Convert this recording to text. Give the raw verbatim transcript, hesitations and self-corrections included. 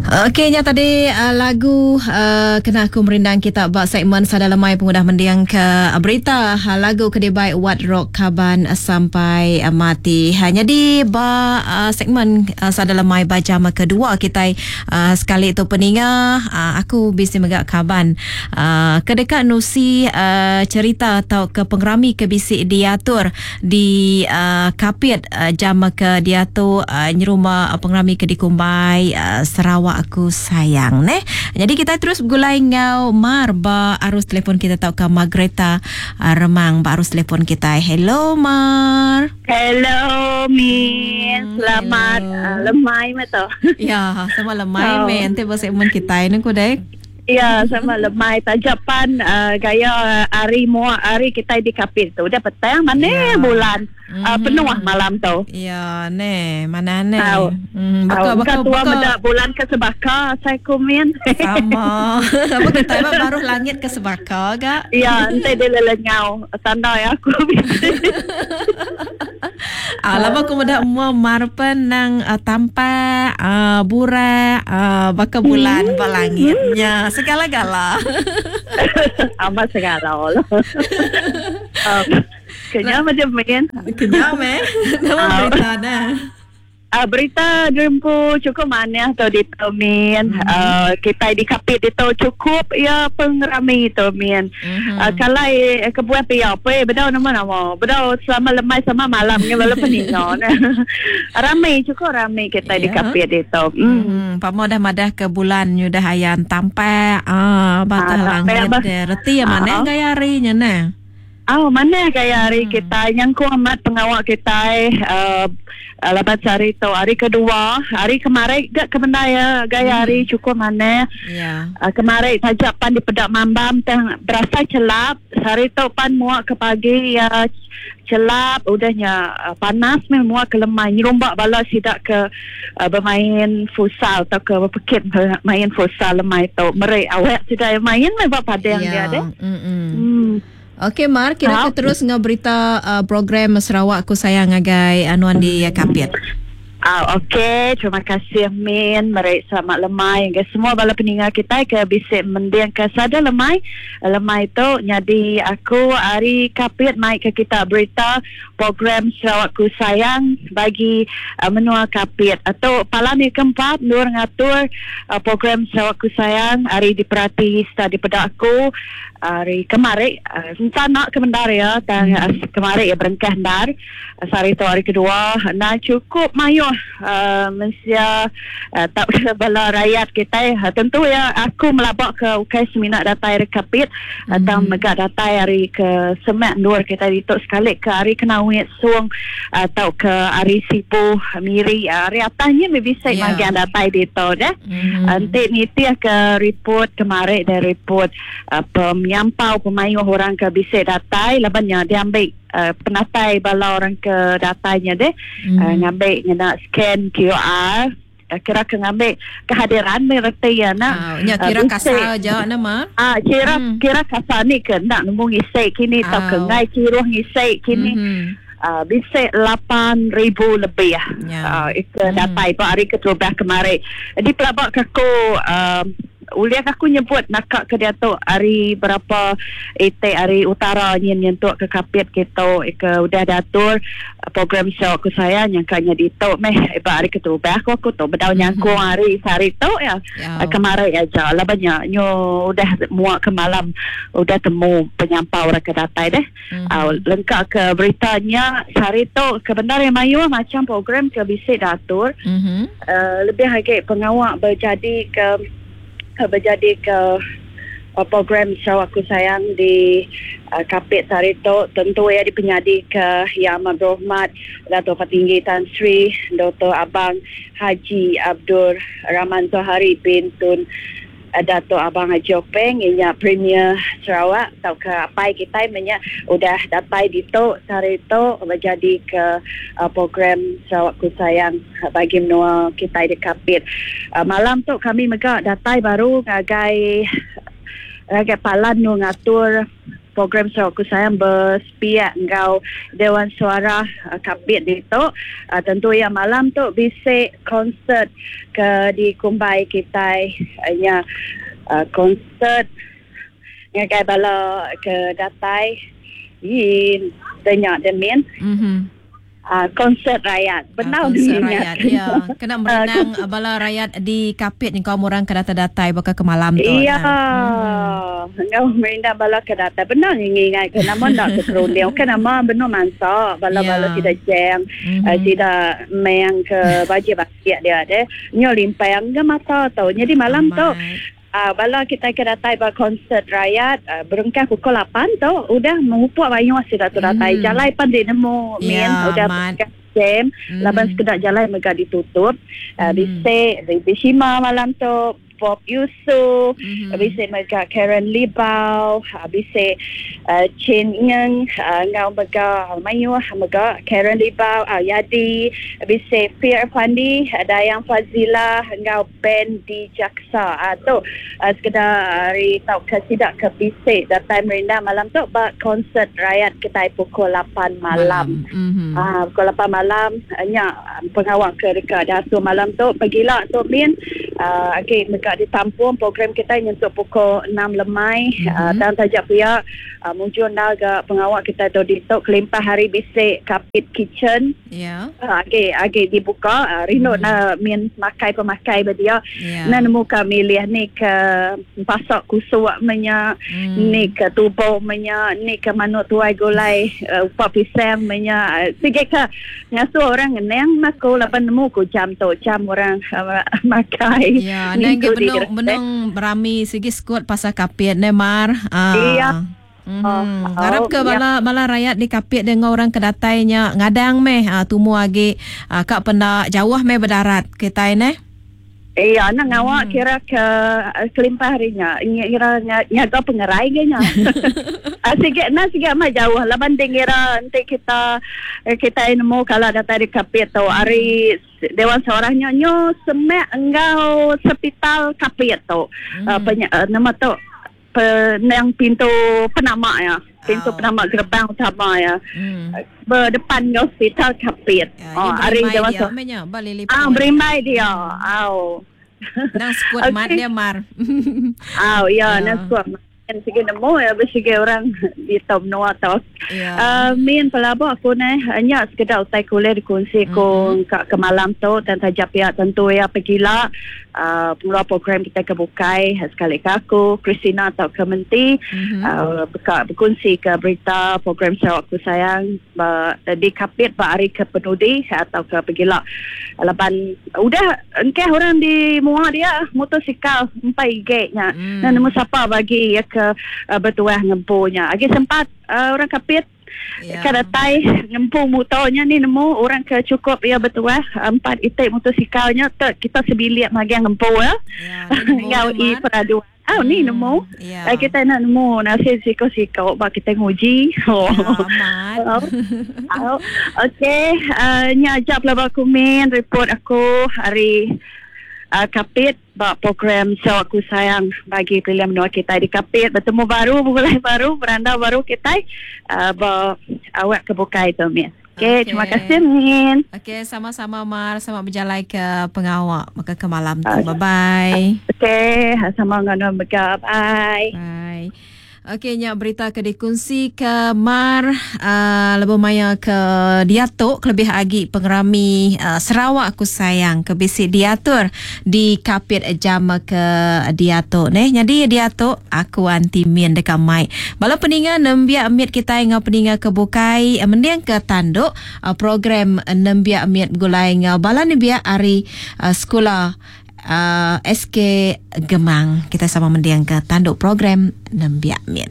Okey, nya tadi uh, lagu uh, kena aku merindang kita ba segmen Sada Lemai pengudah mendiang ke uh, berita uh, lagu ke dibai Wat Rock Kaban Sampai uh, Mati. Ha, jadi ba uh, segmen uh, Sada Lemai ba jam kedua kita uh, sekali tu peninga uh, aku bisi mega kaban uh, ke dekat nusi uh, cerita atau ke pengerami ke bisi diatur di uh, Kapit uh, jam ke diatu uh, nyerumah uh, pengerami ke dikumbai uh, Sarawak Aku Sayang neh. Jadi kita terus bergulai ngau Mar ba arus telefon kita tau ke Margareta uh, Remang ba arus telefon kita. Hello Mar. Hello Min. Hmm, selamat uh, lemai mah. Ya, sama lemai oh. Men. Nanti ba segmen kita ini ku dek. Ya, sama lemai tajapan uh, gaya hari muak hari kita di Kapit tu. Udah petang mana ya. Bulan. Mm-hmm. Uh, penuh malam tu. Ya, ne, mana ne. Hmm, baka baka tua baka bulan ke sebaka saya komen. Sama. Apa kita baru langit ke sebaka gak? Ya, ente dia lelenyau tanda ya aku. Ah, lama aku muda mua marpen nang uh, tampak uh, burak uh, baka bulan hmm. ba langitnya segala-gala. Amat segala lah. um, Kenyang macam main. Kenyang meh. Nama berita dah. Uh, berita jempu cukup mana atau di Min. Mm-hmm. Uh, kita di Kapit itu cukup ya pengerami itu Min. Mm-hmm. Uh, kalau eh, kebuah pia apa bedau nama nama. Bedau selama lemai sama malam ni bala peningo. Ramai cukup ramai kita yeah. di Kapit itu. Mm. Mm-hmm. Pamo dah madah ke bulan dah ayan tampak ah batal ah, langit reti ya mana uh, gaya harinya nah. Oh, mana gaya hari hmm. kita nyangkung amat pengawak kita uh, lepas hari tu hari kedua hari kemarin gak kemendaya gaya hari hmm. cukup mana yeah. uh, kemarin saja pan di pedak mambam teng berasa celap hari tu pan muak ke pagi ya celap udahnya uh, panas memang muak ke lemai nyerumbak bala sidak ke uh, bermain futsal atau ke berpekit main futsal lemai tu merek awak sidak main memang padang yeah. dia deh. Hmm. Okey Mar, kira ke terus ngau berita uh, program Sarawak Aku Sayang agai anuan di Kapit. Ah, okey, terima kasih Min, merek selamat lemai ke semua bala peninga kita ke bisik mendiang ke sada lemai. Lemai tu jadi aku hari Kapit mai ke kita berita program Sarawak Ku Sayang bagi uh, menua Kapit atau palan yang keempat nur ngatur uh, program Sarawak Ku Sayang hari diperhati serta dipedak aku hari kemarin uh, nak ke mendar ya tang uh, kemarin ya berengkah ndar uh, hari tu hari kedua nah cukup mayuh uh, mensia uh, tak bala rakyat kita uh, tentu ya aku melabak ke ukai seminak datai hari Kapit mm-hmm. atau megak datai hari ke Semak Nur kita dituk sekali ke hari Kenawit Suang atau ke hari Sipu Miri hari atasnya bisa yeah. Magian datai dituk dah mm-hmm. Nanti nitiah ke report kemarin dari report uh, penyampau pemayuh orang ke bisik datai labannya dia ambil uh, penatai bala orang ke datainya deh mm. uh, ngambil ngena scan Q R uh, kira ke ngambil kehadiran mereti ya nak uh, nya kira uh, kasar aja nama ah kira mm. kira kasar ni ke nak nemu ngisik kini oh. Tau ke ngai kiruh ngisik kini mm-hmm. Uh, bisik lapan ribu lebih yeah. uh, itu mm. datai pak hari keterubah kemarin di pelabak aku uh, uliak aku nyebut nakak ke dia tu hari berapa ite hari utara nyen nyentuk ke Kapit kita ke udah datur program Sarawak Ku Sayang nyangkanya di tu meh iba hari keterubah aku aku tu bedau nyangkung hari sehari tu ya yeah. Kemarin aja lah banyak nyo udah muak ke malam udah temu penyampau orang ke datai deh mm-hmm. uh, lengkap ke beritanya sehari tu kebenar yang mayu macam program ke bisik datur mm-hmm. uh, lebih lagi pengawak berjadi ke berjadi ke uh, program Sarawak Ku Sayang di uh, Kapit hari tu tentu ya dipenyadi ke Yang Amat Berhormat Dato' Patinggi Tan Sri Doktor Abang Haji Abdul Rahman Zohari bin Tun uh, Dato' Abang Haji Openg inya Premier Sarawak atau ke apai kita menya udah datai di tu hari tu berjadi ke uh, program Sarawak Ku Sayang bagi menua kita di Kapit. Uh, malam tu kami mega datai baru ngagai ngagai palan nu ngatur program Sarawakku Sayang bersepiak ngau Dewan Suara uh, Kapit itu uh, tentu ya malam tu bisik konsert ke di Kumbai kita nya uh, konsert ngagai bala ke datai in tanya demin Mhm. Uh, konsert rakyat. Benar uh, konsert rakyat. Ya, kena merenang uh, bala rakyat di Kapit ni kaum orang ke datai-datai bakal ke malam tu. Iya. Hmm. Ngau merindang bala ke datai. Benar ngingai ke nama nak ke kerunding. Okey nama benar mansa bala-bala Ya. tidak jeng, Mm-hmm. uh, tidak meng ke baju batik dia deh. Nyo limpang ke mata tau. Jadi malam tu Uh, bala kita ke datai ba konsert rakyat uh, berengkah pukul lapan tu udah mengupuk banyak sudah tu datai Mm. jalai pan di nemu Ya, min udah amat. berengkah jam Mm. laban sekedar jalai mega ditutup uh, Mm. bisik di Shima malam tu Bob Yusuf Mhm. mm. bisik mega Karen Libau uh, bisik uh, Chin Ngeng uh, ngau mega Mayu mega Karen Libau uh, Yadi bisik Fir Fandi uh, Dayang Fazila ngau Ben di Jaksa uh, tu uh, sekedar hari tau ke sidak ke bisik datai merindah malam tu ba konsert rakyat kita pukul lapan malam. Mhm. Ah, pukul lapan malam nya pengawal ke dekat datu malam tu pergilah tu min uh, okey dekat ditampung program kita nyentuh pukul enam lemai Mhm. mm-hmm. uh, dan tajak pihak uh, muncul naga pengawal kita tu ditok kelimpah hari bisik Kapit Kitchen Ya. uh, okey okey dibuka uh, rindu Mhm. mm. nak min makai pemakai berdia Ya. nak nemu kami milih ni ke pasak kusuk menya Mm. ni ke tubuh menya ni ke manuk tuai gulai uh, upak pisang menya sikit ke ngasu orang ngeneng mako lapan nemu ku jam tu jam orang uh, makai Ya, Ni nang ke tu di benung Gersek. benung berami sigi skut pasal Kapit ne Mar. Ah. Iya. Mm-hmm. Oh, Harap ke oh, bala bala rakyat di Kapit dengan orang kedatainya ngadang meh ah, tumu agi ah, kak penda jauh meh berdarat kita ne. Iya, nak ngawak Hmm. kira ke eh, kelimpah harinya. Kira nyaga pengerai ke nya. Ah, sikit nak sikit mah jauh. Laban kira nanti kita eh, kita nemu kalau datang di Kapit tu hari Dewan Seorangnya nyo semak engkau sepital Kapit tu. Hmm. Uh, penya, uh, nama tu penang pintu penamak ya. Pintu Oh. penamak gerbang utama ya. Hmm. Berdepan dengan hospital Kapit. Ya, Oh, hari berimai Dewan dia Seorang. meh nya, ba lili Ah, berimbai dia. Au. Nang skut Okey. mat dia Mar. Ah, ya, Ya. nak kuat makan sige nemu ya bersige orang di top noa tau. Ya. Uh, min pelabur aku ni hanya sekedar utai kuliah dikongsi ko Mhm. mm-hmm. ke, ke malam tu dan tajak pihak tentu ya pergilah uh, pengeluar program kita ke Bukai sekali ke aku Christina atau ke Menti Mhm. uh, beka, berkongsi ke berita program Sarawakku Sayang ba, di Kapit ba hari ke Penudi atau ke pergilah laban udah engkeh orang di muar dia motosikal empat igeknya Hmm. mm. nemu siapa bagi ya ke uh, bertuah ngempunya agi sempat uh, orang Kapit Ya. yeah. Ke datai ngempu motornya ni nemu orang ke cukup ya bertuah empat itik motosikalnya tak kita sebilik magi ngempu ya. Ya, ni nemu Ngau dia, i Mar. peraduan. Ah ni Hmm, nemu. Ya. Eh, kita nak nemu nasib siko-siko bak kita nguji. Oh. Ya, amat. Oh. Oh. Okey, uh, nya ajak pelabak aku min report aku hari uh, Kapit bak program Sarawakku Sayang bagi pilihan menua kita di Kapit bertemu baru mulai baru berandau baru kita uh, ba awak kebukai tu min. Okey, Okey. terima kasih min. Okey, sama-sama Mar, sama berjalan ke pengawak maka ke malam tu. Ah. Bye-bye. Okey, sama dengan mega. Bye. Bye. Okey, nyak berita ke dikongsi ke Mar uh, lebih maya ke diatuk lebih agi pengerami uh, Sarawak aku sayang ke bisi diatur di Kapit jam ke diatuk neh. Jadi diatuk aku anti min dekat mic. Bala peninga nembiak mit kita ngau peninga ke bukai eh, mending ke tanduk uh, program nembiak mit gulai ngau bala nembiak hari uh, sekolah uh, S K Gemang. Kita sama mendiang ke tanduk program Nembiak Min.